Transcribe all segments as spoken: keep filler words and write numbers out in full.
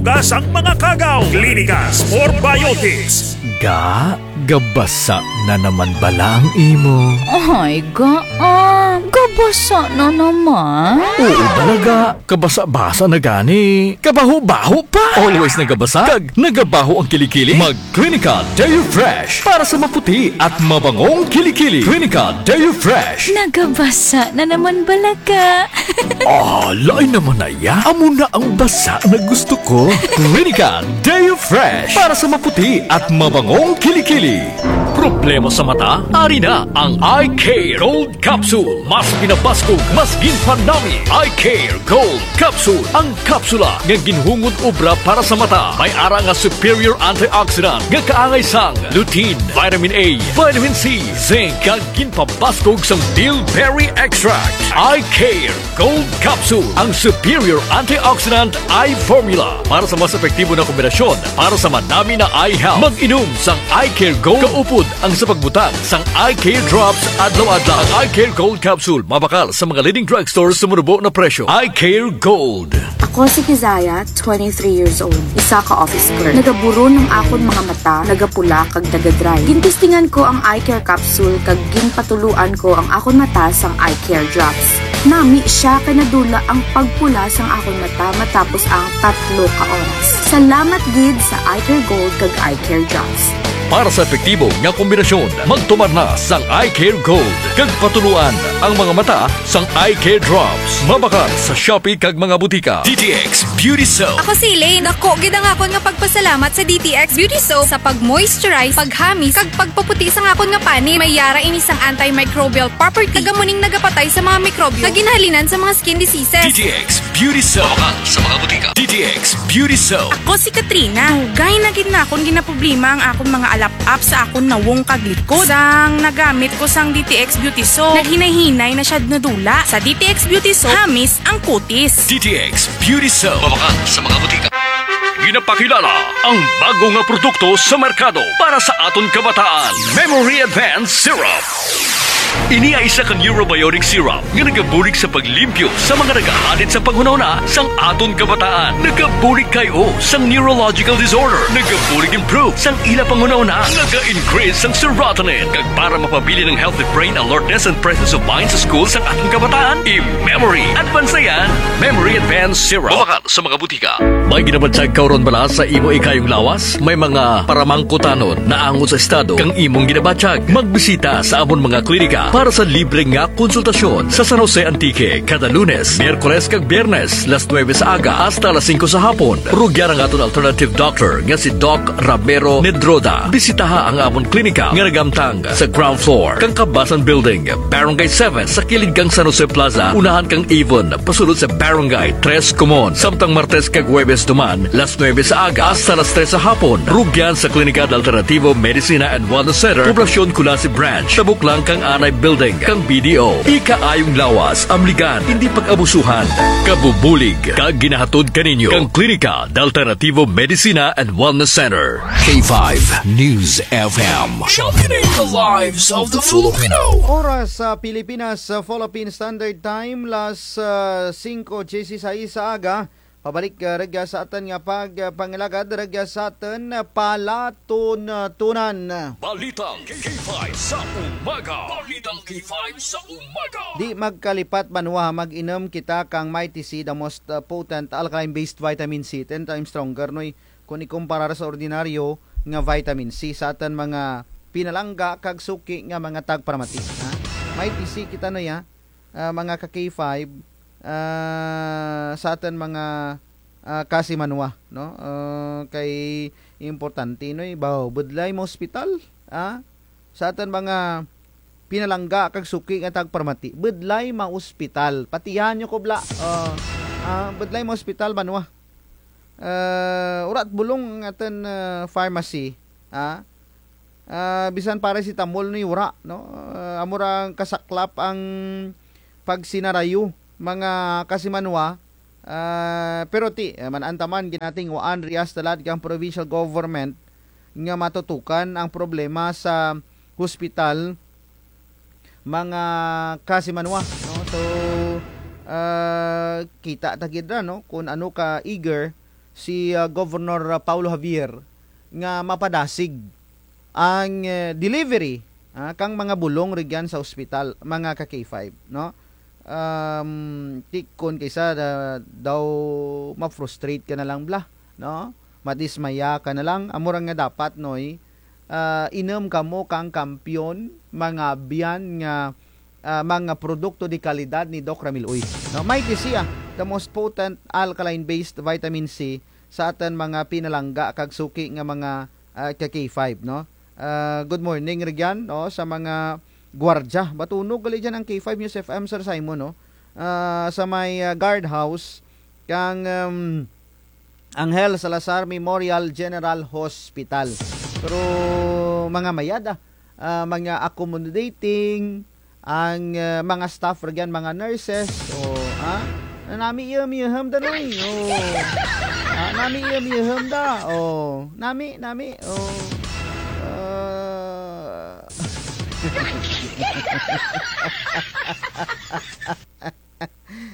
Asang mga kagaw, Clinicas for Biotics. Ga, gabasa na naman bala ang imo? Ay, ga, ah, gabasa na naman. Oo, bala ga. Kabasa-basa na gani. Kabaho-baho pa. Always nagabasa. Kag nagabaho ang kilikili. Mag Clinica Deo Fresh para sa maputi at mabangong kilikili. Clinica Deo Fresh. Nagabasa na naman bala ga. Ah, lain naman na ya. Amo na ang basa na gusto ko. Clinica Deo Fresh para sa maputi at mabangong kilikili. Problema sa mata? Ari na ang Eye Care Gold Capsule. Mas ginabaskog, mas ginpanami. Eye Care Gold Capsule. Ang kapsula nga ginhungod obra para sa mata. May ara nga superior antioxidant nga kaangay sang lutein, vitamin A, vitamin C, zinc, kag ginpabaskog sang bilberry extract. Eye Care Gold Capsule, ang superior antioxidant eye formula para sa mas epektibo na kombinasyon para sa manami na eye health. Mag-inom sang Eye Care Gold kaupod ang sa pagbutang sang Eye Care Drops adlaw-adlaw. Ang Eye Care Gold Capsule mabakal sa mga leading drugstore sa manubo na presyo. Eye Care Gold. Ako si Kizaya, twenty-three years old, isa ka office girl. Nagaburon ang akon mga mata, nagapula kag nagadry. Gintestingan ko ang Eye Care Capsule kag ginpatuloan ko ang akon mata sang Eye Care Drops. Nami siya kay nadula ang pagpula sang akon mata matapos ang tatlo ka oras. Salamat gid sa Eye Care Gold kag Eye Care Drops. Para sa epektibo nga kombinasyon, magtumar na sang Eye Care Gold kag patuloan ang mga mata sang Eye Care Drops. Mabakal sa Shopee kag mga butika. D T X Beauty Soap. Ako si Elaine. Dako gid ang akon nga pagpasalamat sa D T X Beauty Soap sa pag-moisturize, paghamis, kag pagpaputi sang akon nga panit. May ara ini sang antimicrobial property. Kag amo ning nagapatay sa mga mikrobyo nga ginahalinan sa mga skin diseases. D T X Beauty Soap. Mabakal sa mga butika. D T X Beauty Soap. Ako si Katrina. Dugay na gid nakon ginaproblema ang akon mga alap-ap sa akon nawong kag likod. Sang nagamit ko sang D T X Beauty Soap, naghinay-hinay na siya nadula. Sa D T X Beauty Soap, hamis ang kutis. D T X Beauty Soap. Mabakal sa mga butika. Ginapakilala ang bago nga produkto sa merkado para sa aton kabataan, Memory Advance Syrup. Ini ay isa ka neurobiotic syrup nga nagabulig sa paglimpyo sa mga nagahadit sa panghunahuna sang aton kabataan. Nagabulig kay-o sang neurological disorder. Nagabulig improve sang ila panghunahuna. Naga-increase sang serotonin. Kag para mapabilin ang healthy brain alertness and presence of mind sa school sang aton kabataan, i-Memory Advance na yan. Memory Advance Syrup. Mabakal sa mga butika. May ginabatyag ka run bala sa imo ikayong lawas? May mga paramangkutanon naangot sa estado kang imong ginabatyag? Magbisita sa amon mga klinika para sa libre nga konsultasyon sa San Jose, Antique, kada Lunes, Miyerkules kag Biyernes, las nuebe sa aga hasta las singko sa hapon. Rugyan ang aton alternative doctor nga si Doc Ramiro Nedroda. Bisitaha ang amon klinika nga nagamtang sa ground floor kang Kabasan Building, Barangay seven, sa kilid kang San Jose Plaza, unahan kang Avon, pasulod sa Barangay Tres Comon. Samtang Martes kag Huwebes duman, las nuebe sa aga hasta las tres sa hapon, rugyan sa Klinika de Alternativo Medicina and Wellness Center, Poblacion Culasi Branch, tabok lang kang Anay Building kang B D O. Ikaayong lawas, amligan, indi pag-abusuhan. Kabubulig kag ginahatod kaninyo kang Klinika de Alternativo Medicina and Wellness Center. K five News F M. Championing the lives of the Filipino. Oras sa Pilipinas, sa Philippine Standard Time, las, ah, singko dieciséis sa aga. Pabalik, ah, rugya sa atun nga pag, ah, pangilagad, rugya sa atun, ah, palatuntunan. Balitang K five sa umaga. Balitang K five sa umaga. Di magkalipat banwa, mag-inom kita kang Mighty C, the most, ah, potent alkaline-based vitamin C, ten times stronger, Noy, kon ikumparar sa ordinaryo nga vitamin C sa atun mga pinalangga kag suki nga mga tagparamati, ha? Mighty C kita, Noy, ha? Ah, mga ka K five, ah, sa atun mga, ah, kasimanwa, no? Ah, kay importante, Noy, baw, budlay maospital, ha? Sa atun mga pinalangga kag suki nga tagparamati, budlay maospital. Patihan nyo ko bala. Ah, ah, budlay maospital banwa. Ah, wara't bulong ang atun, ah, pharmacy, ha? Ah, bisan paracetamol ni wara, no? Ah, amo ra ang kasaklap ang pagsinarayo, mga kasimanwa. Ah, pero ti, ah, man-an ta man, ginatinguhaan rugya sa tulad kang provincial government nga matutukan ang problema sa hospital, mga kasimanwa, no? So, ah, kita ta gid ra, no, kon ano ka eager si, ah, Governor, ah, Paolo Javier nga mapadasig ang, eh, delivery, ah, kang mga bulong rugyan sa ospital, mga ka K five, no? Um, ti kon kaysa da-, daw ma-frustrate ka na lang bala, no? Madismaya ka na lang, amo ra nga dapat, Noy, ah, inum kamo kang kampiyon, mga abyan nga, ah, mga produkto de kalidad ni Doc Ramil Uy. No, Mighty C, ah, the most potent alkaline-based vitamin C sa atun mga pinalangga kag suki nga mga, ah, ka K five, no? Ah, good morning rugyan, no, sa mga gwardya. Batunog gali dyan ang K five News F M, Sir Simon, no? Ah, sa may, ah, guardhouse kang, um, Angel Salazar Memorial General Hospital. Pero mga mayad, ah, ah, mga accommodating, ang, ah, mga staff rugyan, mga nurses, o, ah, nami iya miyaham da, Noy. O. Ah, nami iya miyaham da. O, nami, nami. O. Ah.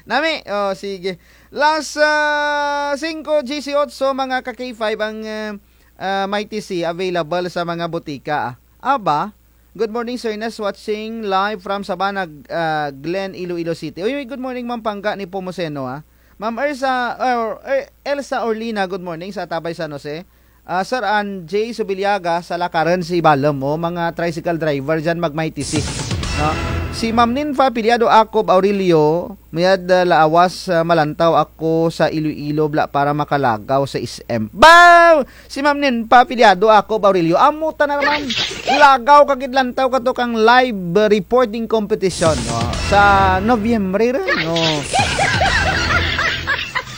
Nami, o, sige. Las, ah, singko disiotso, mga ka K five, ang, ah, ah, Mighty C available sa mga botika, ah. Aba, good morning, Sir Ernest, watching live from Sabana, ah, Glen, Iloilo City. Uy, uy, good morning, Ma'am Pangga ni Pomoseno, ah. Ma'am Ersa, or, er, Elsa Orlina, good morning sa Tabay, San Jose. Ah, Sir Anjay Subiliaga, sa lakaran si Balem, o, mga tricycle driver dyan, mag-Mighty C, no? Si Ma'am Ninfa Piliado Acob Aurelio, mayad, ah, laawas, ah, malantaw ako sa Iloilo bala para makalagaw sa S M. Baw! Si Ma'am Ninfa Piliado Acob Aurelio, amo tana ra man. Lagaw ka gid lantaw kato kang live, ah, reporting competition, no? Sa Nobyembre ra, no?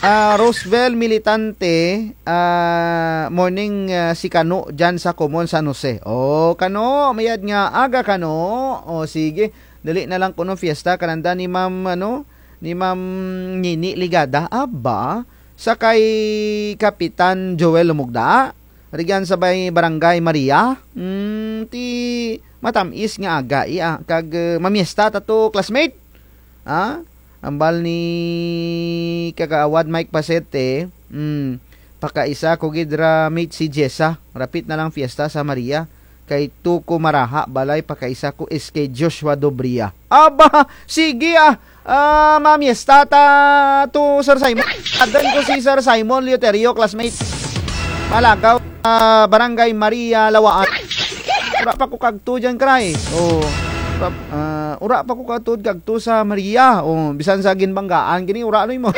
Ah, Roosevelt Militante, ah, morning, ah, si Kano dyan sa Common San Jose. O, Kano, mayad nga aga, Kano. O, sige. Dali na lang kuno fiesta kananda ni Ma'am, ano, ni Ma'am Nini Ligada. Aba, sa kay Kapitan Joel Lumugda. Rugyan sa may Barangay Maria. Mm, ti matam-is nga aga, iya. Kag, eh, mamiesta ta to, classmate. Ha? Ambal ni Kagawad Mike Pasete, mm, pakaisa ko gid ra, mate, si Jessa. Rapit na lang fiesta sa Maria. Kay to ko maraha balay, pakaisa ko S K Joshua Dobria. Aba, sige, ah. Ah, mamiesta ta to, Sir Simon. Adan ko si Sir Simon Lioterio, classmate. Malagaw, ah, Barangay Maria, Lawaan. Ura pa ko kagto dyan, kray. O, ura, ah, ura pa ko kagto, kagto sa Maria. O, bisan sa Ginbanggaan, gini, ura, ano mo?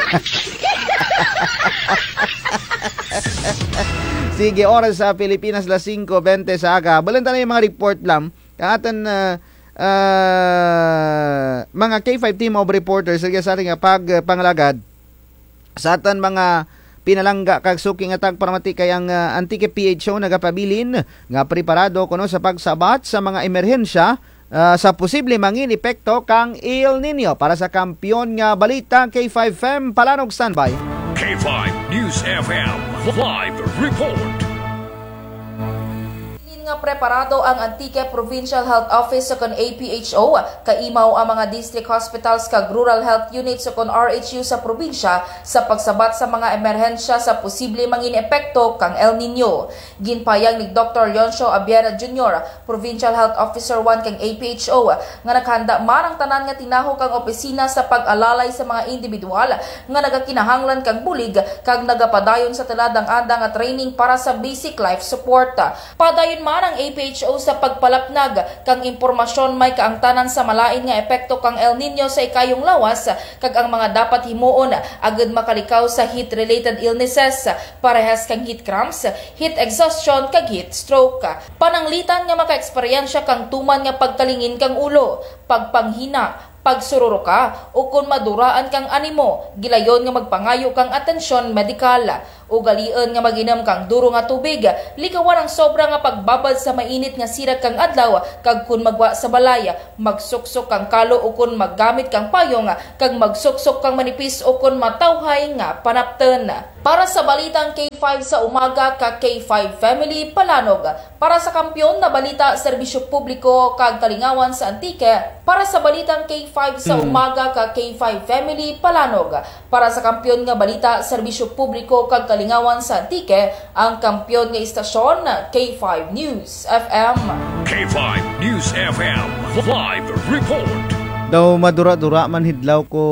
Sige, oras sa Pilipinas, las singko bente sa aga. Balan ta na yung mga report lang. Kang atun, ah, ah, mga K five team of reporters, sa sari nga pag, ah, panglagad. Sa atun mga pinalangga kag suki nga tagparamati kay ang, ah, Antique P H O nagapabilin nga preparado kuno sa pagsabat sa mga emerhensya, ah, sa posible mangin epekto kang El Niño. Para sa Kampiyon nga Balita, K five F M, Palanog, standby. K five News F M, live report. Tingin nga preparado ang Antique Provincial Health Office sukon A P H O, kaimaw ang mga district hospitals kag rural health units sukon R H U sa probinsya sa pagsabat sa mga emerhensya sa posible mangin epekto kang El Niño. Ginpahayag ni Doktor Leoncio Abiera Junior, Provincial Health Officer one kang A P H O, nga nakahanda man ang tanan nga tinawo kang opisina sa pag-alalay sa mga indibidwal nga nagakinahanglan kang bulig kag nagapadayon sa tulad ang andang nga training para sa basic life support. Padayon man ang A P H O sa pagpalapnag kang impormasyon may kaangtanan sa malain nga epekto kang El Niño sa ikayong lawas kag ang mga dapat himuon agud makalikaw sa heat-related illnesses, parehas kang heat cramps, heat exhaustion kag heat stroke. Pananglitan nga makaeksperyensya kang tuman nga pagkalingin kang ulo, pagpanghina, pagsururuka, ukon maduraan kang animo, gilayon nga magpangayo kang atensyon medikal. Ugaliun nga mag-inom kang duro nga tubig, likawan ang sobra nga pagbabad sa mainit nga sirak kang adlaw, kag kon maggwa sa balay, magsuksok kang kalo ukon maggamit kang payong, kag magsuksok kang manipis ukon matawhay nga panaptun. Para sa balitang K five sa umaga ka K five Family, Palanog. Para sa Kampiyon na Balita, Serbisyo Publiko kag Kalingawan sa Antique. Para sa balitang K five sa umaga ka K five Family, Palanog. Para sa Kampiyon nga Balita, Serbisyo Publiko kag Kalingawan sa Antique, ang kampiyon nga istasyon, K five News F M. K five News F M, live report. Daw madura-dura man hidlaw ko,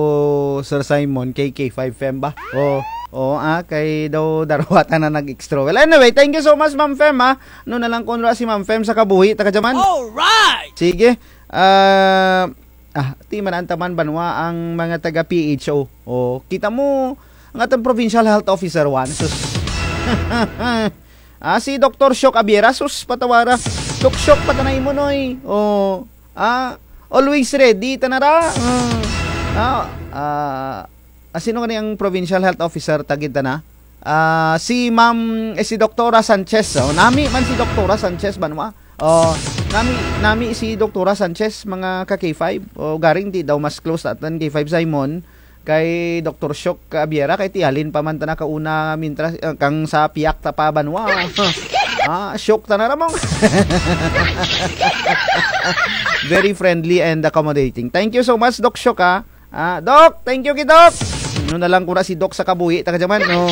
Sir Simon, kay K five Fem ba? O, o, ah, kay daw darwa tana nag-extra. Well, anyway, thank you so much, Ma'am Fem, ah. Ano na lang kon wara si Ma'am Fem sa kabuhi, ta kadya man. Alright! Sige. Ah, ah, ti man ang taman banwa ang mga taga P H O. O, kita mo, ang atong provincial health officer, wan, sus. Ah, si Doktor Shock Abiera, sus, patawara. Doc Shock, patanay mo, noy. O, ah, always ready, tana ra. Ah, ah, ah, ah, sino gani ang provincial health officer, tagid tana? Ah, si Ma'am, eh, si Doktora Sanchez. O, nami man si Doktora Sanchez, banwa. O, nami, nami si Doktora Sanchez, mga ka K five. O, garing ti daw mas close ta atun K five Simon. Kay Doktor Shock Abiera, kay ti halin pa man tana kauna, mintras, eh, kang sa piyak ta pa banwa. Ah, shock tana ra mong. Very friendly and accommodating. Thank you so much, Doc Shock, ah. Ah, Doc, thank you gid, Doc. Ano na lang kura si Doc sa kabuhi, ta kadya man, no.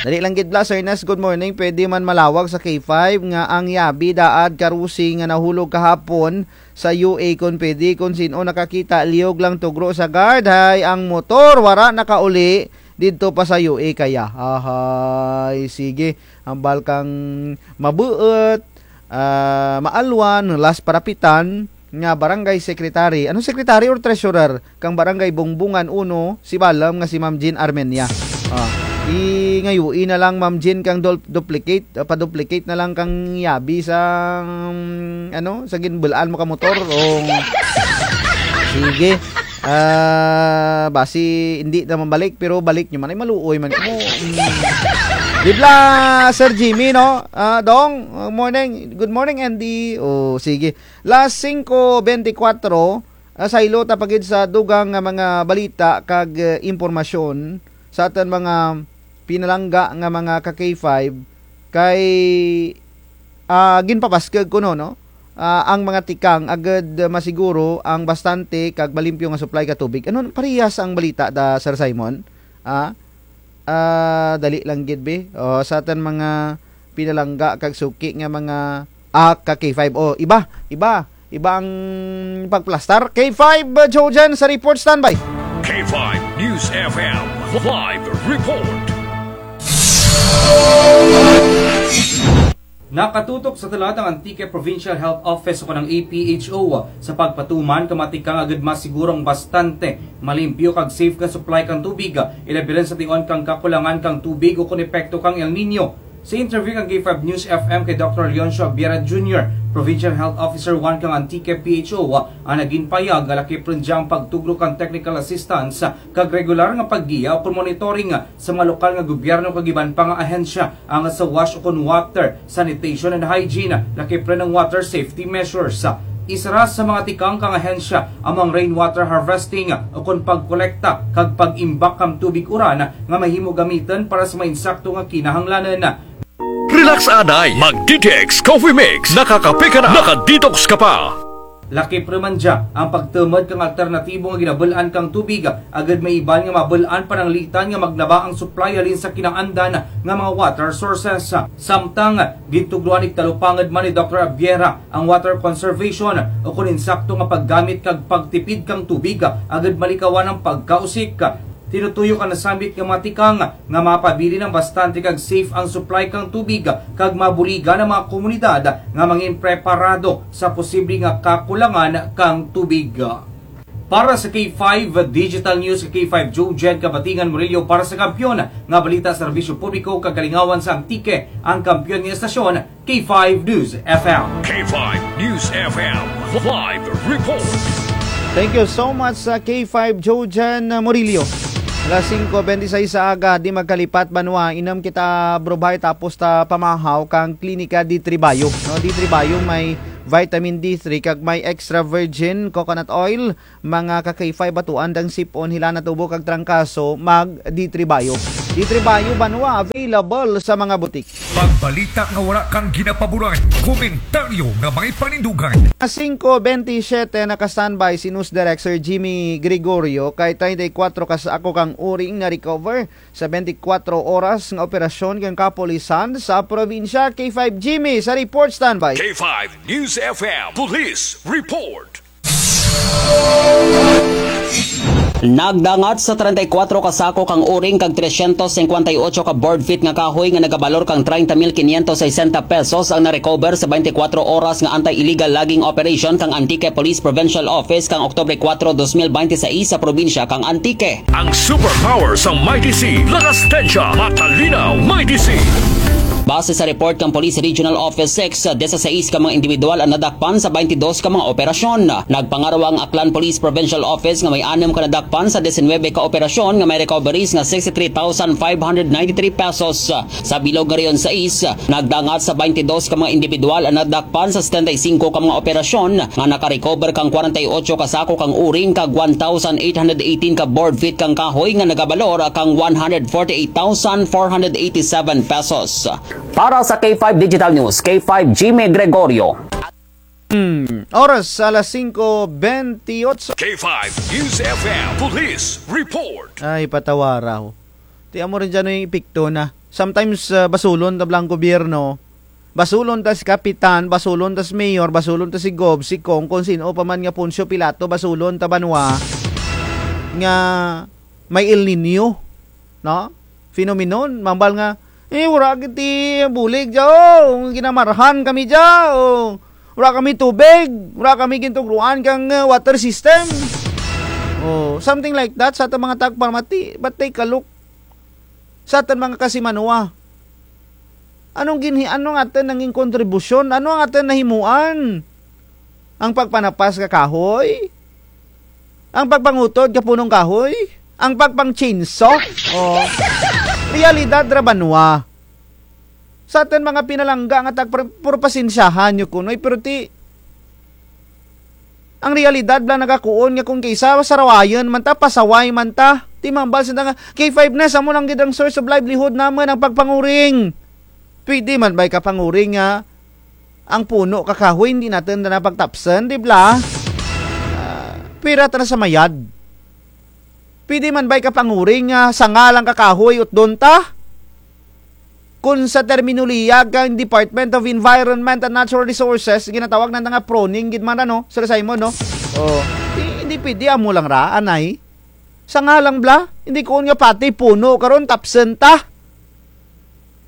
Dali lang gid bala, Sir Nas, good morning. Pwede man malawag sa K five nga ang yabi daad karusi nga nahulog kahapon sa U A, kon pwede, kon sin-o nakakita, liyog lang tugro sa guard, hay ang motor wara nakauli didto pa sa U A kaya. Ahay, sige, hambal kang mabuot, ah, maalwan, last parapitan, nga barangay secretary. Ano, secretary or treasurer? Kang barangay Bongbongan uno, Sibalom, nga si Ma'am Jean Armenia. Ah, i-, ngayoy na lang, Ma'am Jean, kang dul-, duplicate, ah, pa-duplicate na lang kang yabi sa, mm, ano, sa ginbul-an mo ka motor. O, sige. Ah, basi indi na mabalik, pero balik nyo man, ay maluoy man mo. Mm. Gid bala, Sir Jimmy, no? Ah, Dong, ah, morning. Good morning, Andy. O, sige. Las singko bentikwatro, ah, saylo ta pa gid sa dugang nga mga balita kag, eh, impormasyon sa atun mga pinalangga nga mga ka K five kay, ah, ginpabaskug kuno, no? Ah, ang mga tikang agud masiguro ang bastante kag malimpyo nga supply ka tubig. Ano, parehas ang balita da, Sir Simon? Ah, Ah, dali lang gid, be. O, sa atun mga pinalangga kag suki nga mga, ah, ka K five. O, iba, iba, iba ang pagplastar. K five, uh, Jojan sa report, standby. K five News F M, live report. Nakatutok sa tulad ang Antique Provincial Health Office o kanang A P H O sa pagpatuman kang mga tikang agud masiguro ang bastante, malimpyo kag safe nga supply kang tubig, ilabi run sa tion kang kakulangan kang tubig ukon epekto kang El Niño. Sa interview kang K five News F M kay Doktor Leoncio Abiera Junior, Provincial Health Officer one kang Antique P H O, ang nagin pahayag nga lakip run dya ang pagtugro kang technical assistance kag regular nga paggiya ukon monitoring sa mga lokal nga gobyerno kag iban pa nga ahensya, ang sa WASH ukon water, sanitation and hygiene, lakip run ang water safety measures. Isara sa mga tikang kang ahensya among rainwater harvesting ukon pagkolekta kag pag-imbak kang tubig uran nga mahimo gamitun para sa mga insakto nga kinahanglanun. Relax anay, mag-D T X Coffee Mix, nakakape ka na, naka-detox ka pa. Lakip run man dya ang pagtumud kang alternatibo nga ginabul-an kang tubig, agud may iban nga mabul-an pananglitan nga maglaba ang supply halin sa kinaandan nga mga water sources. Samtang, gintugroan ig talupangud man ni Doktor Abiera ang water conservation ukon insakto nga paggamit kag pagtipid kang tubig, agud malikawan ang pagkausik. Tinutuyo kang nasambit nga mga tikang nga mapabilin ang bastante kag safe ang supply kang tubig kag mabuligan ang mga komunidad nga mangin preparado sa posible nga kakulangan kang tubig. Para sa K five Digital News, K five Joe Jen Kabatingan Murillo para sa Kampiyon nga Balita, Serbisyo Publiko kag Kalingawan sa Antique, ang kampiyon nga estasyon, K five News F M. K five News F M, live report. Thank you so much sa K five Jojan Murillo. Alas singko benti sais sa aga, di magkalipat banwa, inum kita brubay tapos ta pamahaw kang Klinika D three Bio. No, D three Bio may vitamin D three kag may extra virgin coconut oil, mga ka K five, batuan dang sip-on, hilan, tubo kag trangkaso, mag D three Bio. Di Tribayo Banwa, available sa mga butik. Pagbalita nga wara kang ginapaboran, komentaryo nga may panindugan. Singko bentisiete, naka-standby si News Director Jimmy Gregorio, kay treinta y cuatro ka sako kang uring na-recover sa bente kwatro oras nga operasyon kang kapulisan sa probinsya. K five Jimmy sa report, standby. K five News F M Police Report. Nagdangat sa treinta y cuatro ka sako kang uring kag trescientos cincuenta y ocho ka board feet nga kahoy nga nagabalor kang treinta mil quinientos sesenta pesos ang na-recover sa bente kwatro oras nga anti-illegal logging operation kang Antique Police Provincial Office kang Oktubre kwatro, dos mil bente sais sa probinsya kang Antique. Ang superpower sa Mighty C, lakas tensya, matalinaw, Mighty C. Base sa report kang Police Regional Office six, diyesisais ka mga indibidwal ang nadakpan sa baynte dos ka mga operasyon. Nagpangarwa ang Aklan Police Provincial Office nga may anem ka nadakpan sa disinwebe ka operasyon nga may recoveries nga sixty-three thousand five hundred ninety-three pesos. Sa bilog nga Region sais, nagdangat sa baynte dos ka mga indibidwal ang nadakpan sa setenta y singko ka mga operasyon nga nakarecover kang kwarenta y otso ka sako kang uring kag one thousand eight hundred eighteen ka board feet kang kahoy nga nagabalor kang one hundred forty-eight thousand four hundred eighty-seven pesos. Para sa K five Digital News, K five Jimmy Gregorio. Hmm, oras, alas singko bentiyotso. K five News F M Police Report. Ay, patawara ho. Ti amo run dyan ang epekto na. Sometimes, ah, basulon ta bala ang gobyerno. Basulon ta si kapitan, basulon ta si mayor, basulon ta si gov, si kong, kon sin-o pa man nga Poncio Pilato, basulon ta banwa nga may El Niño, no? Phenomenon, mambal nga, eh, wara kami ti bulig dya, o, ginamarhan kami dya, o, wara kami tubig, wara kami gintugroan kang, eh, water system. O, something like that, sa atun mga tagparamati, but take a look sa atun mga kasimanwa. Anong ginhi-, ano ang atun nangin kontribusyon? Ano ang atun nahimuan? Ang pagpanapas ka kahoy? Ang pagpangutod ka punong kahoy? Ang pagpang-chainsaw? O. Realidad ra banwa. Sa atun mga pinalangga nga tagpar-, pero pasensyahan nyo kuno, eh, pero ti, ang realidad bala nagakuon nga kon kaysa sarawayun man ta, pasaway man ta. Ti mambal sanda nga, K five News, amo lang gid ang source of livelihood namun, ang pagpanguring. Pwede man bay ka panguring nga ang puno ka kahoy, hindi natun na pagtapsun, di bala? Ah, pira ta na sa mayad. Pwede man bay ka panguring nga sanga lang ka kahoy, utdon ta? Kon sa terminolohiya kang Department of Environment and Natural Resources, ginatawag nanda nga pruning gid man ra, no, Sir Simon, no? O, di, hindi pwede, amo lang ra, anay. Sanga lang bala, hindi kuon nga pati puno karon tapsun ta.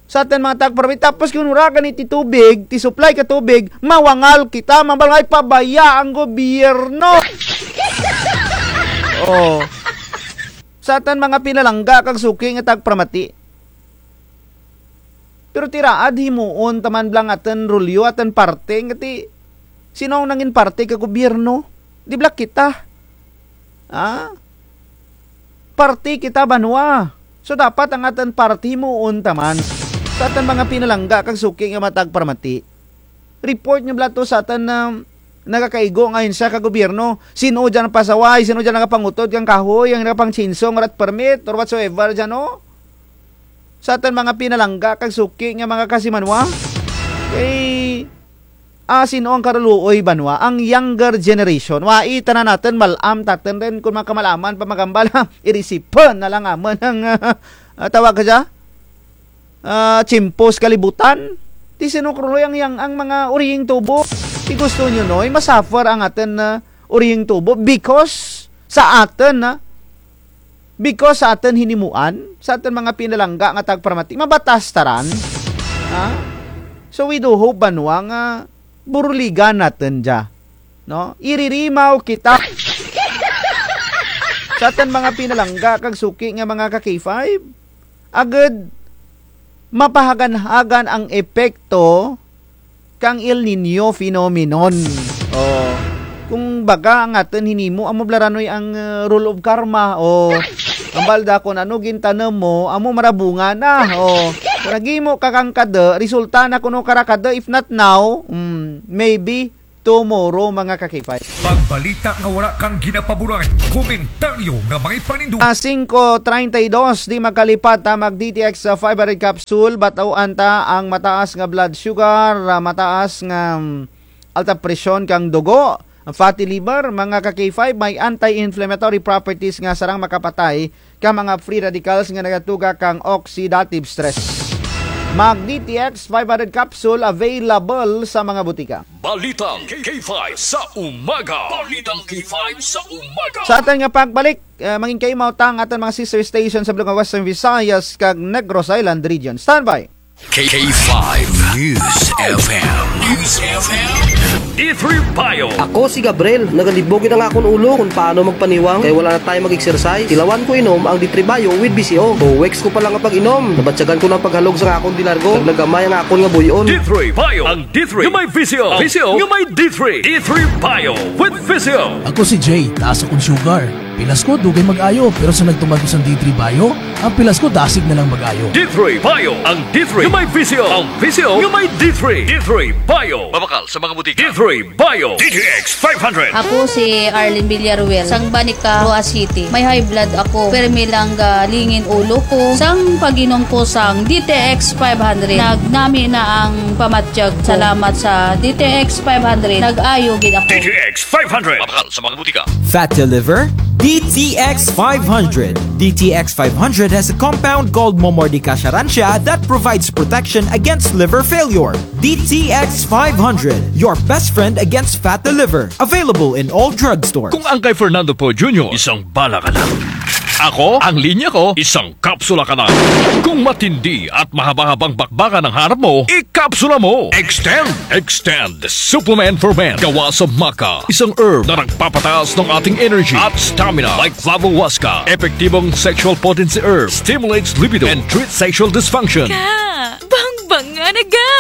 Sa atun mga tagparamati, tapos kon wara gani ti tubig, ti supply ka tubig, mawangal kita, mambal nga, ay, pabaya ang gobyerno. O. Sa atun mga pinalangga kag suki nga tagparamati. Pero ti raad himuon ta man bala ang atun rolyo, atun parte, nga ti, sin-o ang nangin parte ka gobyerno? Di bala kita? Ha? Parte kita banwa. So, dapat ang atun parte himuon ta man. Sa atun mga pinalangga kag suki nga mga tagparamati. Report nyo bala to sa atun, ah, nagakaigo nga ahensya ka gobyerno. Sin-o dyan ang pasaway, sin-o dyan nagapangutod kang kahoy, ang nagapang-chainsaw, wara't permit, or whatsoever dyan, no? Sa atun mga pinalangga kag suki nga mga kasimanwa. Kay, ah, sin-o ang karuluoy banwa? Ang younger generation. Wai, tanan natun, mal-am tatun run, kon makamalaman pa magambal, ha, irisipun na lang amun ang, ah, tawag ka dya? Ah, tiyempo sa kalibutan. Ti sin-o karuluoy ang, ang, ang mga urihing tubo? Ti gusto nyo, Noy, masuffer ang atun, ah, urihing tubo because sa atun, ah, because sa atun hinimuan, sa atun mga pinalangga nga tagparamati, mabatas ta ran. Ha? So we do hope, banwa, nga buruligan natun dya. No? Iririmaw kita. Sa atun mga pinalangga kag suki nga mga ka-K five, agud mapahagan-hagan ang epekto kang El Niño phenomenon. O, kumbaga, ang atun hinimo, amo bala ra, Noy, ang, eh, rule of karma. O, hambal da, kon ano gintanum mo, amo man ra bunga na. O, kon naghimo ka kang kadu, resulta na kuno kara kadu, if not now, mm, maybe, tomorrow, mga ka-K five. Pagbalita nga wara kang ginapaboran, komentaryo nga may panindog. Ah, singko treinta y dos, di makalipat, ah, mag D T X, ah, five hundred capsule, bat-uan ta ang mataas nga blood sugar, ah, mataas nga, mm, alta presyon kang dugo, fatty liver, mga ka-K five, may anti-inflammatory properties nga sarang makapatay ka mga free radicals nga nagatuga kang oxidative stress. Mag D T X five hundred capsule available sa mga butika. Balitang K five sa umaga. Balitang K five sa umaga. Sa atun nga pagbalik, eh, mangin kaimaw ta ang atun mga sister station sa Bulungan, Western Visayas kag Negros Island Region. Standby. K five News F M. News F M. D three Bio. Ako si Gabriel. Nagalibog gid ang akon ulo kon paano magpaniwang kay wala na tayo mag-exercise. Tilawan ko inom ang D three Bio with V C O. Two weeks ko pa lang nga pag-inom, nabatyagan ko na ang paghalog sa akon delargo. Kag nagamay ang akon nga buy-on. D three Bio. Ang D three nga may V C O. V C O nga may D three. D three Bio with V C O. Ako si Jay. Taas akon sugar. Pilas ko, dugay mag-ayo, pero sa nagtuman ko sang D three Bio, ang pilas ko dasig na lang mag-ayo. D three Bio, ang D three nga may V C O, ang V C O nga may D three. D three Bio. Mabakal sa mga butika. D three Bio. D T X five hundred. Ako si Arlene Villaruel, sang Banica, Roxas City. May high blood ako, permi lang galingin ulo ko. Sang pag-inom ko sang D T X five hundred, nagnami na ang pamatyag ko. Salamat sa D T X five hundred, nag-ayo gid ako. D T X five hundred. Mabakal sa mga butika. Fatty liver? D T X five hundred. D T X five hundred has a compound called Momordica charantia that provides protection against liver failure. D T X five hundred, your best friend against fatty liver. Available in all drugstores. Kung ang kay Fernando Poe Junior, isang bala ka na. Ako, ang linya ko, isang kapsula ka na. Kung matindi at mahaba-habang bakbakan ang harap mo, ikapsula mo. Extend. Extend Supplement for Men. Gawa sa maca, isang herb na nagpapataas ng ating energy at stamina. Like Flavo Huasca, epektibong sexual potency herb, stimulates libido, and treats sexual dysfunction. Ga, bangbanga na ga.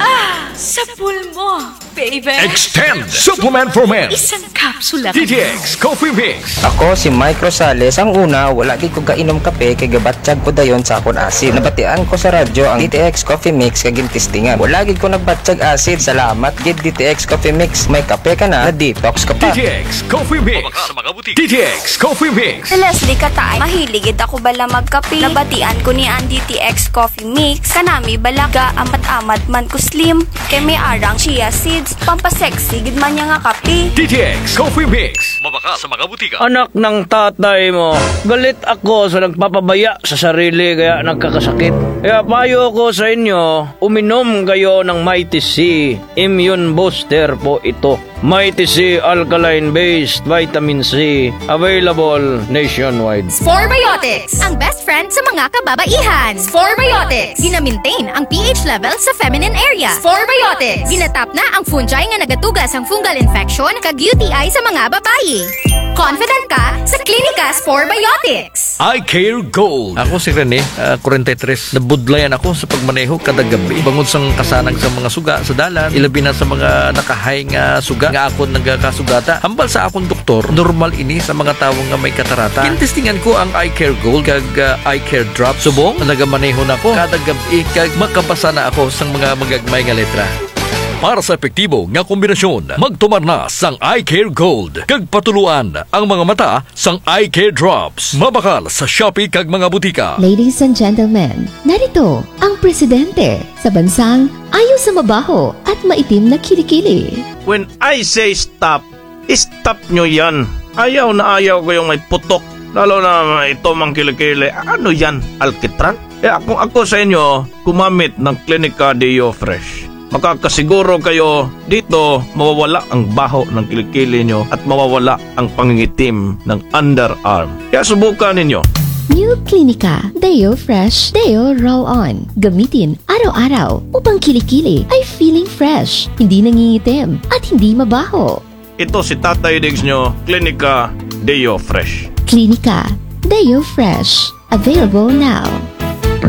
Ah, sa pulmo, baby. Extend Supplement for Men. Isang kapsula ka na. D T X Coffee Mix. Ako si Mike Rosales. Ang una, wala gid ko gainom kape kay gabatyag ko dayon sa akon acid. Nabatian ko sa radyo ang D T X Coffee Mix kag gintistingan. Wala gid ko nagbatyag acid. Salamat gid D T X Coffee Mix. May kape ka na, na-detox ka pa. D T X Coffee Mix. Mabakal sa mga butika. D T X Coffee Mix. Si Leslie Katay, mahilig gid ako bala magkape. Nabatian ko ni ang D T X Coffee Mix. Kanami bala, gaamat-amat man ko slim. Kay may arang chia seeds, pampasexy gid man niya nga kape. D T X Coffee Mix. Mabakal sa mga butika. Anak ng tatay mo, galit ako sa nagpapabaya sa sarili kaya nagkakasakit. Kaya payo ko sa inyo, uminom kayo ng Mighty C Immune Booster po ito. Mighty C Alkaline Based Vitamin C, available nationwide. Spore Biotics, ang best friend sa mga kababaihan. Spore Biotics, gina-maintain ang P H level sa feminine area. Spore Biotics, ginatap na ang fungi nga nagatuga sang fungal infection kag U T I sa mga babayi. Confident ka sa Klinika Spore Biotics. Eye Care Gold. Ako si Rene, ah, kwarenta y tres. Nabudlayan ako sa pagmaneho kada gab-i. Bangod sang kasanang sa mga suga sa dalan, ilabi na sa mga nakahay nga suga nga akon nagakasugata. Hambal sa akon doktor, normal ini sa mga tawo nga may katarata. Gintestingan ko ang Eye Care Gold kag, ah, Eye Care Drops. Subong nagamaneho na ako kada gab-i kag makabasa na ako sang mga magagmay nga letra. Para sa epektibo nga kombinasyon, magtumar na sang Eye Care Gold kag patuloan ang mga mata sang Eye Care Drops. Mabakal sa Shopee kag mga butika. Ladies and gentlemen, narito ang presidente sa bansang ayaw sa mabaho at maitim na kilikili. When I say stop, stop nyo yan. Ayaw na ayaw ko yung may putok. Lalo na ito mang kilikili. Ano yan? Alkitran? Eh, ako, ako sa inyo, gumamit ng Klinika Deo Fresh. Makakasiguro kayo dito, mawawala ang baho ng kilikili nyo at mawawala ang pangingitim ng underarm. Kaya subukan ninyo. New Klinika Deo Fresh Deo Roll-On. Gamitin araw-araw upang kilikili ay feeling fresh, hindi nangingitim, at hindi mabaho. Ito si Tatay Diggs nyo, Klinika Deo Fresh. Klinika Deo Fresh. Available now.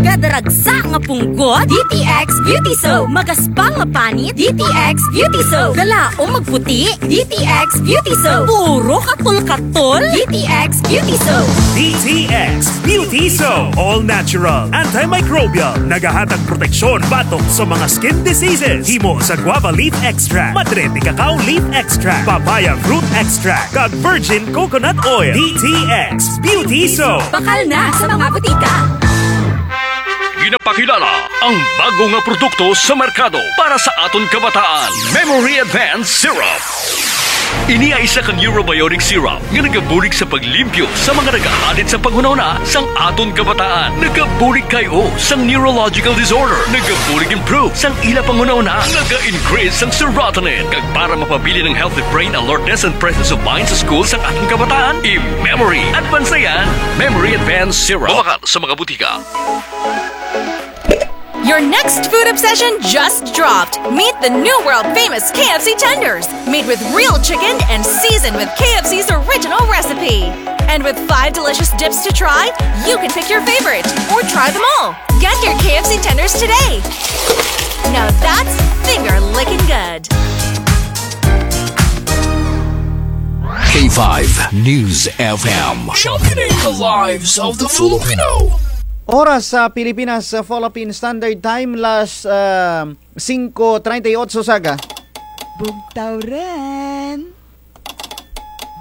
Kada ragsa nga punggot, D T X Beauty Soap. Magaspa nga panit, D T X Beauty Soap. Kalaom magputi, D T X Beauty Soap. Puro katol-katol, D T X Beauty Soap. D T X Beauty Soap. All natural, antimicrobial. Nagahatag proteksyon batok sa mga skin diseases. Himo sa guava leaf extract, madre de cacao leaf extract, papaya fruit extract, kag virgin coconut oil. D T X Beauty Soap. Bakal na sa mga butika. Ginapakilala ang bago nga produkto sa merkado para sa aton kabataan, Memory Advance Syrup. Ini ay isa ka neurobiotic syrup nga nagabulig sa paglimpyo sa mga nagahadit sa panghunahuna sang aton kabataan. Nagabulig kay-o sang neurological disorder. Nagabulig improve sang ila panghunahuna. Naga-increase sang serotonin. Kag para mapabilin ang healthy brain alertness and presence of mind sa school sang aton kabataan, i-Memory Advance na yan. Memory Advance Syrup. Mabakal sa mga butika. Your next food obsession just dropped. Meet the new world famous K F C tenders. Made with real chicken and seasoned with K F C's original recipe. And with five delicious dips to try, you can pick your favorite or try them all. Get your K F C tenders today. Now that's finger licking good. K five News F M. Championing the lives of the Filipino. Oras sa Pilipinas, sa Philippine Standard Time, las, ah, singko treinta y ocho sa aga. Bugtaw run.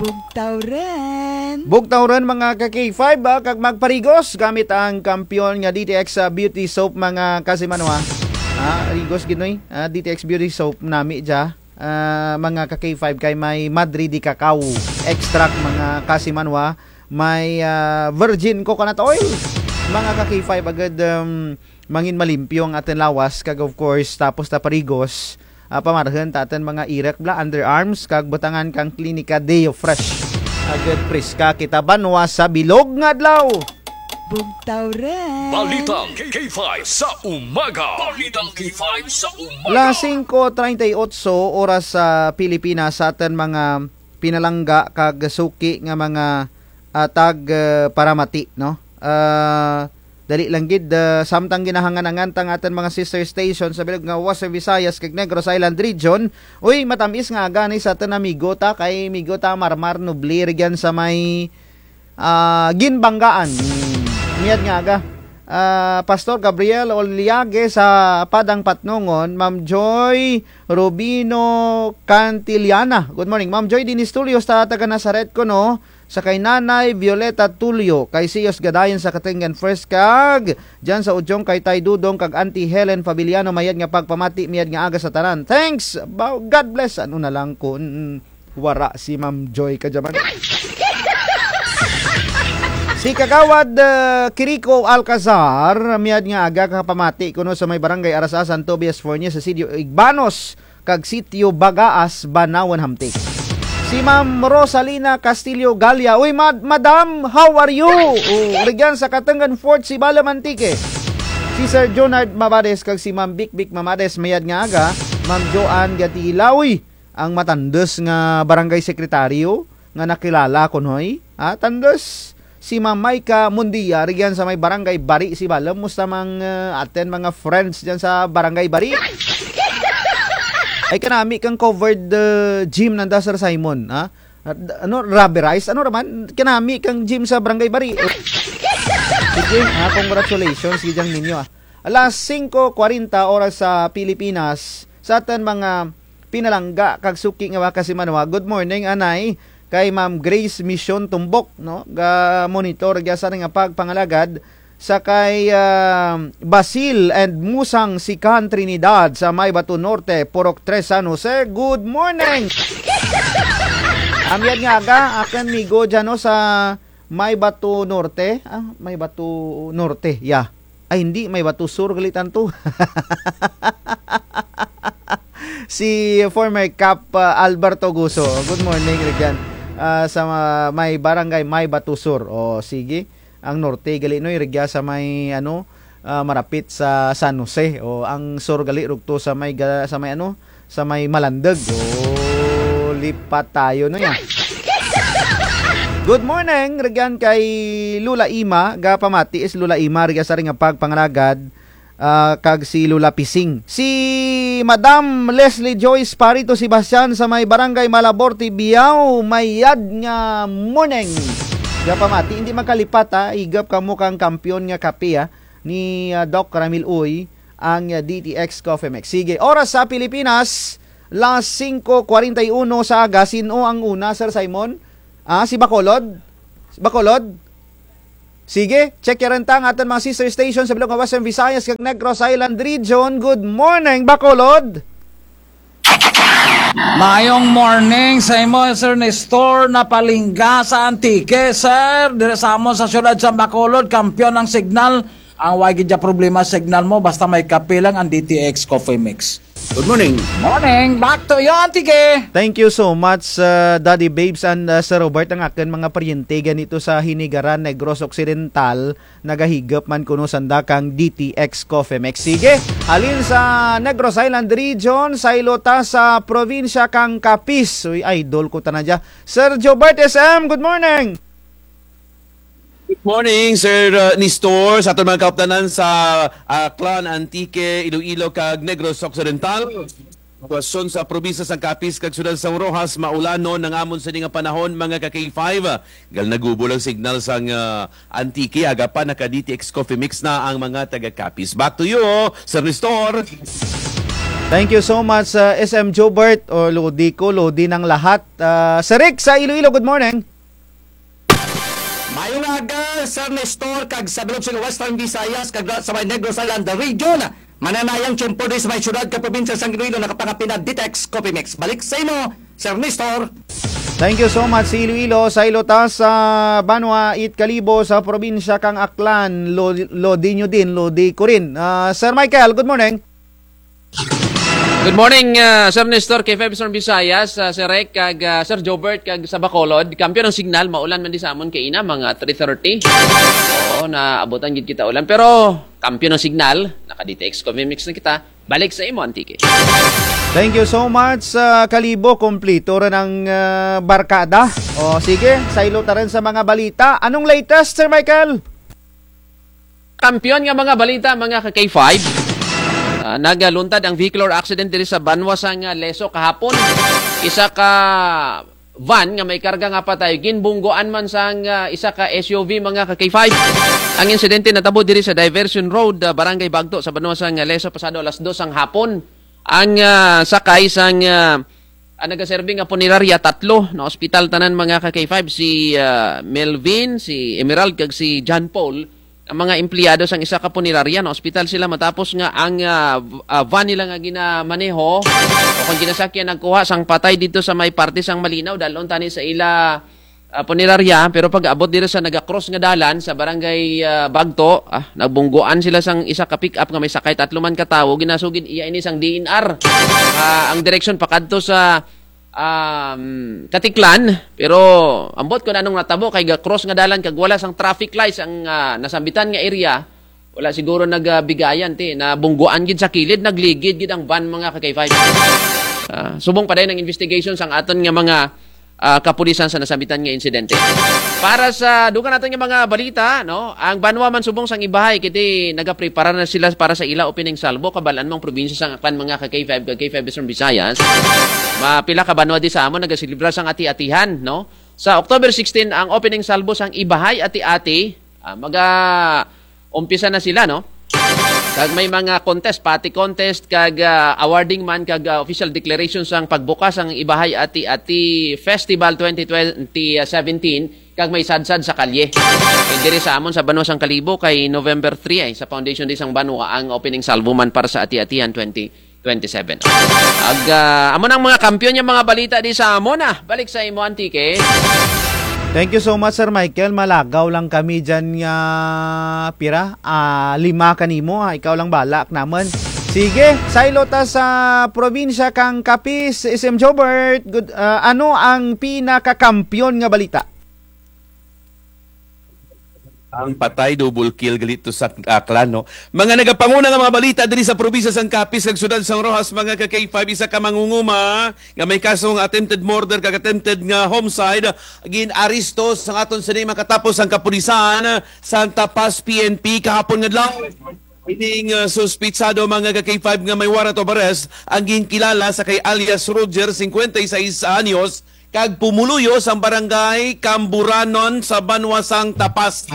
Bugtaw run. Bugtaw run, mga ka K five, ah, kag magparigos gamit ang kampiyon nga D T X, ah, Beauty Soap, mga kasimanwa. Ah, rigos gid, noy. Ah, D T X Beauty Soap nami dya. Ah, mga ka K five, kay may madre de cacao extract, mga kasimanwa, may, ah, virgin coconut oil, mga ka K five, agud, um, mangin malimpyo ang atun lawas, kag of course, tapos ta parigos, ah, pamarhun ta atun mga irek bala, underarms, kag butangan kang Clinica Deo Fresh. Agud preska kita banwa sa bilog nga adlaw. Bugtaw run. Balitang K five sa umaga. Balitang K five sa umaga. Las singko treinta y ocho oras sa Pilipinas, sa atun mga pinalangga kag suki nga mga, ah, tag, ah, paramati, no? Ah, dali lang gid, ah, samtang ginahangan-angan ta ang atun mga sister station sa bilog nga Western Visayas kag Negros Island Region. Uy, matam-is nga aga ni sa atun amigo ta, kay amigo ta Marmar Nubli, rugyan sa may ah, Ginbanggaan. Hmm, mayad nga aga. Ah, Pastor Gabriel Oliague sa Padang Patnongon, Ma'am Joy Rubino Cantillana. Good morning. Ma'am Joy Dinis Tulio sa taga Nazaret kuno, sa kay Nanay Violeta Tulio, kay Siyos Gadayon sa Katengan First kag, dyan sa Ujong kay Tay Dudong kag Auntie Helen Fabiliano, mayad nga pagpamati, mayad nga aga sa tanan. Thanks. Ba-, God bless. Ano na lang kun Wara si Ma'am Joy kadya man. Si Kagawad, ah, Kiriko Alcazar, mayad nga aga kapamati kuno sa may Barangay Arasa, San Tobias Fornier, sa Sitio Igbanos, kag Sitio Bagaas, Banawan Hamtic. Si Ma'am Rosalina Castillo Galia. Uy, mad-, madam, how are you? Oh, rugyan sa Katengan Fort, Sibalom, Antique. Si Sir Jonard Mabades kag si Ma'am Bikbik Mamades, mayad nga aga. Ma'am Joanne Gatila. Uy, ang matandos nga barangay sekretaryo nga nakilala kuno, eh. Ah, tandos si Ma'am Maika Mundia, rugyan sa may Barangay Bari, Sibalom. Musta man, eh, atun mga friends dyan sa Barangay Bari? Ay, kanami kang covered, eh, gym nanda, Sir Simon, ha? At, ano, rubberized? Ano ra man? Kanami kang gym sa Barangay Bari. Sige, ha, congratulations, gid dyan ninyo, ah. Alas singko kwarenta oras sa Pilipinas, sa atun mga pinalangga kag suki nga mga kasimanwa. Good morning, anay, kay Ma'am Grace Mission Tumbok, no? Ga-monitor gid sa nga pagpangalagad sa kay, ah, Basil and Musang Sikan Trinidad sa Maybato Norte, Purok Tres, San Jose. Good morning. Mayad nga aga, akun migo dyan, no, sa Maybato Norte. Ah, Maybato Norte, yeah. Ay, hindi, Maybato Sur gali tanto. Si former Kap, ah, Alberto Guso. Good morning, rugyan. Ah, sa ma-, may barangay Maybato Sur. O, sige. Ang norte gali, noy, rugya sa may, ano, ah, marapit sa San Jose. O, ang sur gali, rugto sa may ga-, sa may, ano, sa may Malandog. O, lipat tayo, no, ya. Good morning, rugyan kay Lola Ima, gapamati si Lola Ima, rugya sa ring pagpangalagad, ah, kag si Lola Pising. Si Madam Leslie Joyce Parito Sebastian sa may Barangay Malabor, Tibiao, mayad nga morning. Gapamati, indi makalipat, ah, higop kamo kang kampiyon nga kape, ah, ni, ah, Doc Ramil Uy, ang, ah, D T X Coffee Mix. Sige, oras sa Pilipinas, las singko kwarenta y uno sa aga, sin-o ang una, Sir Simon? Ah, si Bacolod? Si Bacolod? Sige, check ya run ta ang atun mga sister station sa bilog nga Western Visayas kag Negros Island Region. Good morning, Bacolod! Maayong morning sa imo, Sir Nestor, napalingga sa Antique, sir. Diri sa amon sa siyudad sa Bacolod, kampiyon ang signal. Ang wa gid dya problema signal mo, basta may kape lang ang D T X Coffee Mix. Good morning. Morning. Back to you, Antique. Thank you so much, uh, Daddy Babes and, uh, Sir Robert. Ang akun mga paryente ganito sa Hinigaran, Negros Occidental, nagahigop man kuno sanda kang D T X Coffee Mix. Sige, halin sa Negros Island Region, saylo ta sa probinsya kang Capiz. Uy, idol ko tana dya. Sir Jobert S M, good morning. Good morning, Sir, uh, Nestor, sa atun mga kauptanan sa, uh, Aklan, Antique, Iloilo, kag Negros Occidental. Sitwasyon sa probinsya sang Capiz kag siyudad sang Roxas, maulanon ang amon sini nga panahon, mga ka-K five. Gal nagubo lang signal sang, uh, Antique, aga pa naka-D T X Coffee Mix na ang mga taga-Capiz. Back to you, Sir Nestor. Thank you so much, uh, S M Jobert. O, lodi ko, lodi ng lahat. Uh, Sir Rick sa Iloilo, good morning. Maayong aga, Sir Nestor, kag sa bilog sa Western Visayas, kag sa may Negros Island Region. Mananayang tiyempo diri sa may siyudad kag probinsya sang Iloilo, nakapangapin na D T X Coffee Mix. Balik sa imo, Sir Nestor. Thank you so much, si Iloilo. Saylo ta sa banwa it Kalibo sa probinsya kang Aklan. Lo-, lodi nyo din, lodi ko rin. Ah, Sir Michael, good morning. Good morning, ah, Sir Nestor, K five Eastern Visayas, ah, Sir Rek, kag, ah, Sir Jobert, kag sa Bacolod. Kampiyon ang signal, maulan man di sa amon kaina, mga three thirty. Oo, naabutan gid kita ulan. Pero, kampiyon ang signal, naka-D T X Coffee Mix na kita. Balik sa imo, Antique. Thank you so much, ah, Kalibo. Kumplito ra ang, ah, barkada. O, sige, saylo ta rin sa mga balita. Anong latest, Sir Michael? Kampiyon nga mga balita, mga ka-K five. Ah, nagaluntad ang vehicular accident diri sa banwa sang, ah, Lezo kahapon. Isa ka van nga may karga nga patay, ginbunggoan man sang, ah, isa ka S U V, mga ka-K five. Ang insidente natabo diri sa Diversion Road, ah, Barangay Bagto, sa banwa sang, ah, Lezo, pasado alas dos sang hapon. Ang, ah, sakay sang, ah, ang nagaserbi nga punerarya, tatlo, naospital tanan, mga ka-K five, si, ah, Melvin, si Emerald, kag si John Paul. Ang mga empleyado sang isa ka punerarya, naospital sila matapos nga ang, ah, v-, ah, van nila nga ginamaneho o kung ginasakyan nagkuha sang patay didto sa may parte sang Malinaw, dal-on tani sa ila, ah, punerarya, pero pag-abot diri sa naga-cross nga dalan sa barangay, ah, Bagto, ah, nabunggoan sila sang isa ka pick-up nga may sakay tatlo man ka tawo, ginasugid iya ini sang D N R. Ah, ang direksyon pakadto sa, um, Caticlan, pero ambot kon anong natabo kay ga-cross nga dalan kag wala sang traffic lights ang, ah, nasambitan nga area, wala siguro nagabigayan ti, nabunggoan gid sa kilid, nagligid gid ang van, mga ka-K five. Ah, subong pa dayon ang investigation sang aton nga mga, ah, kapulisan sa nasambitan nga insidente. Para sa dugang naton nga mga balita, no, ang banwa man subong sang Ibajay, kiti nagaprepara na sila para sa ila opening salvo, kabal-an mo ang probinsya sang Aklan, mga ka-K five, ka-K five Eastern Visayas. Mapila ka banwa di sa amon nagaselebrar sang ati-atihan, no? Sa October sixteen, ang opening salvo sang Ibajay Ati-Ati, ah, maga-umpisa na sila, no? Kag may mga contest, pati contest, kag, ah, awarding man, kag, ah, official declaration sang pagbukas sang Ibajay Ati-Ati Festival twenty twenty, ah, seventeen, kag may sadsad sa kalye. Kag diri sa amon sa banwa sang Kalibo kay November three ay sa foundation day sang banwa ang opening salvo man para sa Ati-Atihan twenty twenty-seven. Ag, ah, amo nang mga kampiyon nga mga balita di sa amon, ah. Balik sa imo, Antique. Thank you so much, Sir Michael. Malagaw lang kami dyan nga pira. Ah, lima kanimo, ah. Ikaw lang bala kanamun. Sige, saylo ta sa probinsya kang Capiz, S M Jobert. Good, ah, ano ang pinakakampiyon nga balita? Ang patay, double kill gali to sa Aklan, no? Mga nagapanguna nga mga balita diri sa probinsya sang Capiz kag syudad sang Roxas, mga ka-K five, isa ka mangunguma nga may kasong attempted murder kag attempted nga homicide gin-aresto sang aton sini makatapos ang kapulisan sang Tapas P N P kahapon nga adlaw. Ining, ah, suspitsado, mga ka-K five, nga may warrant of arrest ang ginkilala sa kay alias Roger, singkwenta y sais anyos, kag pumuluyo sang barangay Camburanon sa banwa sang Tapas.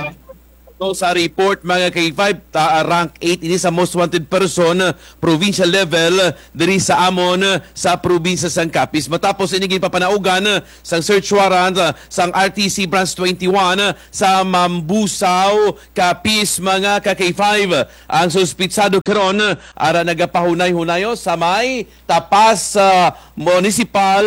Suno sa report, mga ka-K five, ta-, rank eight ini sa most wanted person, ah, provincial level, ah, diri sa amon, ah, sa probinsya sang Capiz. Matapos ini ginpapanaugan, ah, sang search warrant, ah, sang R T C Branch twenty-one, ah, sa Mambusao, Capiz, mga ka-K five. Ang suspitsado karon, ah, ara nagapahunay-hunayo sa may Tapas, ah, Municipal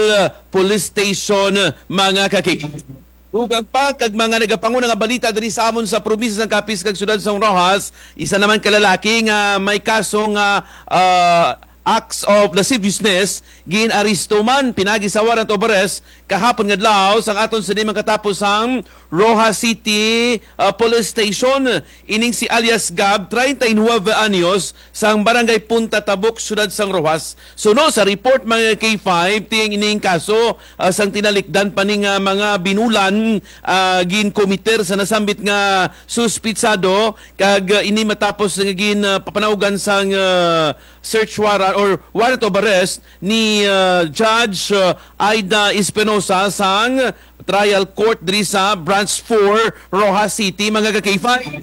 Police Station, mga ka-K five. Dugang pa kag mga nagapanguna nga balita diri sa amon sa probinsya sang Capiz kag syudad sang Roxas, isa naman ka lalaki nga may kaso nga, ah, acts of lasciviousness, gin-aresto man pinaagi sa warrant of arrest kahapon nga adlaw sang aton sini makatapos ang Roxas City, ah, Police Station. Ining si alias Gab, treinta y nueve anyos, sang Barangay Punta Tabuk, syudad sang Roxas. Suno sa report, mga ka-K five, ti ang ining kaso, ah, sang tinalikdan pa ni nga mga binulan, ah, ginkomiter sa nasambit nga suspitsado, kag, ah, ini matapos nga gin, ah, papanaugan sang, ah, search warrant or warrant of arrest ni, ah, Judge, ah, Aida Espinosa sang Trial Court diri sa Branch four, Roxas City, mga ka-K five.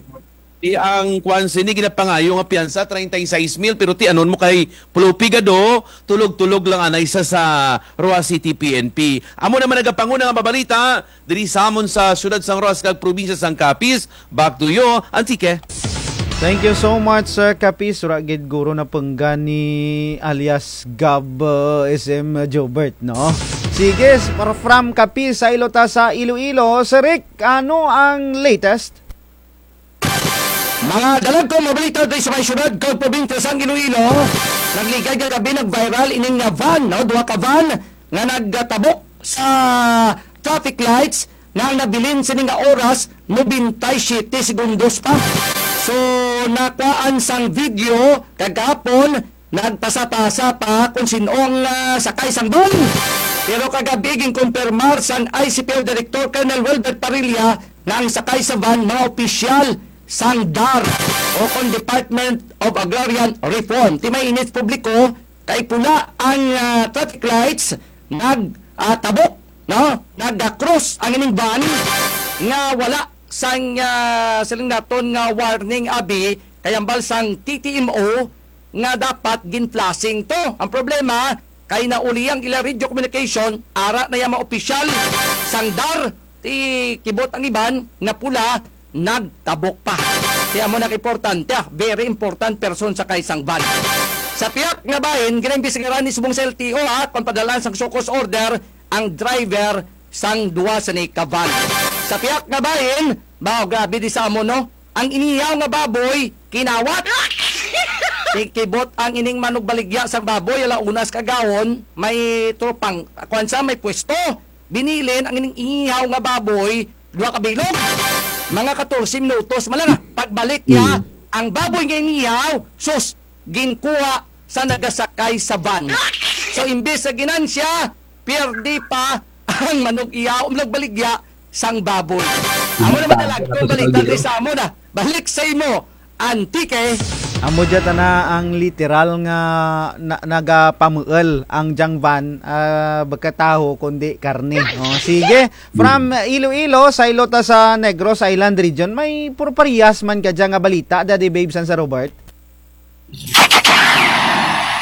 Ti ang kwan sini ginapangayo nga piyansa, treinta y seis mil, pero ti anon mo kay Pulao Pigado, tulog-tulog lang anay sa, sa Roxas City P N P. Amo naman nagapanguna nga mabalita diri sa amon sa syudad sang Roxas kag probinsya sang Capiz. Back to you, Antique. Thank you so much, Sir Capiz. Wara gid guro napengga ni alias Gab, uh, S M Jobert, no? Sige, s-, fr-, from Capiz, saylo ta sa Iloilo. Sir Rick, ano ang latest? Mga dalagkong mabalita diri sa may syudad kag probinsya sang Iloilo. Nagligad nga gab-i nag-viral ining nga van, no? Duha ka van nga nagtabok sa traffic lights nga ang nabilin sini nga oras, nobenta y siyete segundos pa. So, nakuhaan sang video kagahapon, nagpasa-pasa pa kon sin-o ang, ah, sakay sang van. Pero kagab-i ginkumpirmar sang I C P O Director Colonel Welbert Parrilla nga ang sakay sa van mga opisyal sang DAR o kon Department of Agrarian Reform. Ti may init publiko kay pula ang, ah, traffic lights, nag, ah, tabok, no? Nag-cross ang ining van nga wala sang, ah, siling naton nga warning abi, kay hambal sang T T M O nga dapat gin-flashing to. Ang problema, kay nauli ang ila radio communication, ara na yang mga opisyal sang DAR, ti kibot ang iban nga pula, nagtabok pa. Ti amo na ka importante, ah, very important person sakay sang van. Sa pihak nga bahin, ginaimbestigaran ni subong sa L T O, ah, kon padalaan sang show cause order ang driver sang duha sini ka van. Sa pihak nga bahin, baw, grabe di sa amo, no? Ang inihaw nga baboy, kinawat. Ti kibot ang ining manugbaligya sang baboy, ala-una sa kaagahon, may tropang, kuwan sa, may pwesto. Binilin ang ining inihaw nga baboy, duha ka bilog. Mga katorse minutos man lang, ah. Pagbalik niya, ang baboy nga inihaw, sus, ginkuha sa nagasakay sa van. So, imbes sa ginansya, pierde pa ang manug-ihaw, manugbaligya sang baboy. Amo na man ang dalagkong balita diri sa amon, ah. Balik sa imo, Antique. Amo dya tana ang literal nga na-, nagapamuul ang dyang van, ah, baka taho kundi karne. O, sige. From Iloilo, saylo ta sa Negros Island Region, may puro parehas man kadya nga balita, Daddy Babes and Sir Robert.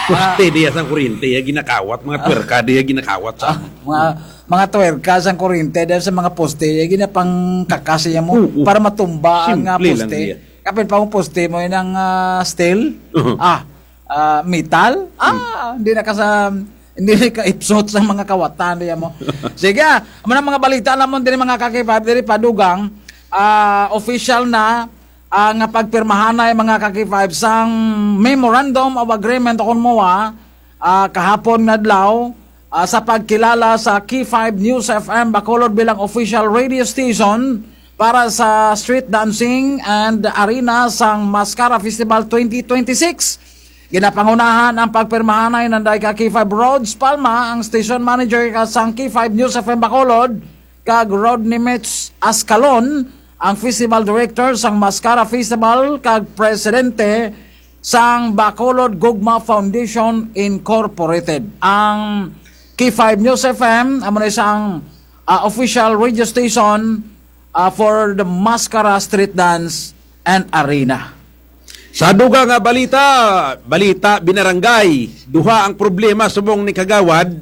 Poste diya sang kuryente, ya ginakawat, mga twerka diya ginakawat sa. Ah, mga, mga twerka sang kuryente, diya sa mga poste, ya ginapangkakas ya mo, para matumba ang, ah, poste. Kapin pa ang poste mo, yan ang, ah, steel. Ah, ah, metal. Ah, hindi na ka sa, hindi na ka ipsot sa mga kawatan diya mo. Sige, ah, amo na mga balita namon diri, mga ka-K five, diri pa dugang, ah, official na, ah, nga pagpirmahanay, mga ka-K five, sang Memorandum of Agreement o kon MOA, ah, kahapon nga adlaw, ah, sa pagkilala sa K five News F M Bacolod bilang official radio station para sa street dancing and arena sang Mascara Festival twenty twenty-six. Ginapangunahan ang pagpirmahanay nanday ka K five Rhodes Palma, ang station manager ka sang K five News F M Bacolod, kag Rodney Mitch Ascalon, ang festival director sang Mascara Festival kag presidente sang Bacolod Gugma Foundation Incorporated. Ang K five News F M amo na isang, ah, official radio station, ah, for the Mascara Street Dance and Arena. Sa dugang nga balita, balita binarangay, duha ang problema subong ni Kagawad.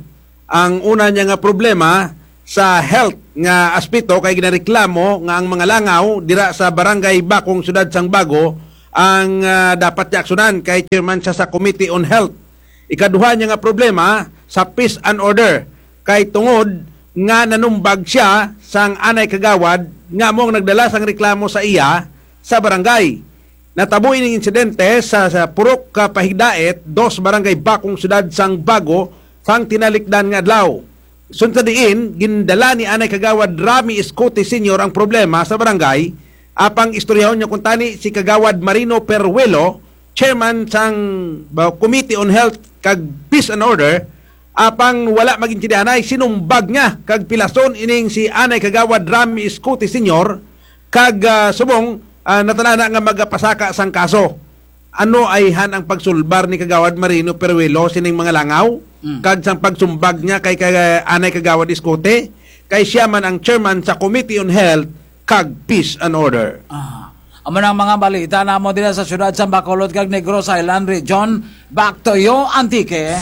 Ang una niya nga problema sa health nga aspeto kay ginareklamo nga ang mga langaw dira sa Barangay Bacong, Syudad sang Bago, ang, ah, dapat niya aksyonan kay chairman siya sa Committee on Health. Ikaduha niya nga problema sa peace and order kay tungod nga nanumbag siya sang anay kagawad nga amo ang nagdala sang reklamo sa iya sa barangay. Natabo ining insidente sa, sa purok ka Pahigdait, dos, Barangay Bacong, Syudad sang Bago, sang tinalikdan nga adlaw. Sunod sa diin, gindala ni anay kagawad Rami Escote Senior ang problema sa barangay, apang istoryahon niya kuntani si Kagawad Marino Peruelo, chairman sang, ba, Committee on Health kag Peace and Order, apang wala mag-intindihanay, sinumbag niya kag pilason ining si anay kagawad Rami Escote Senior, kag, ah, subong, ah, natan-aw na nga magapasaka sang kaso. Ano ayhan ang pagsulbar ni Kagawad Marino Peruelo sining mga langaw? Mm. Kag sang pagsumbag niya kay, kay anay Kagawad Escote, kay siya man ang chairman sa Committee on Health kag Peace and Order. Ah. Amo na ang mga balita namo dira sa siyudad sa Bacolod kag Negros Island Region. Back to you, Antique.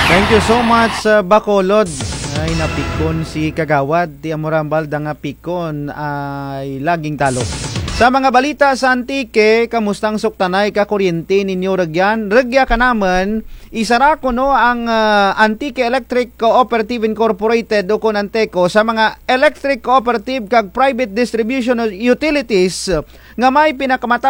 Thank you so much, uh, Bacolod. Ay, napikon si Kagawad. Ti amo ra ang balda nga pikon ay laging talo. Sa mga balita sa Antique, kamusta ang suktanay ka kuryente ninyo rugyan? Rugya ka namun, isara kuno ang, ah, Antique Electric Cooperative Incorporated ukon Anteco sa mga electric cooperative kag private distribution utilities nga may pinakamataas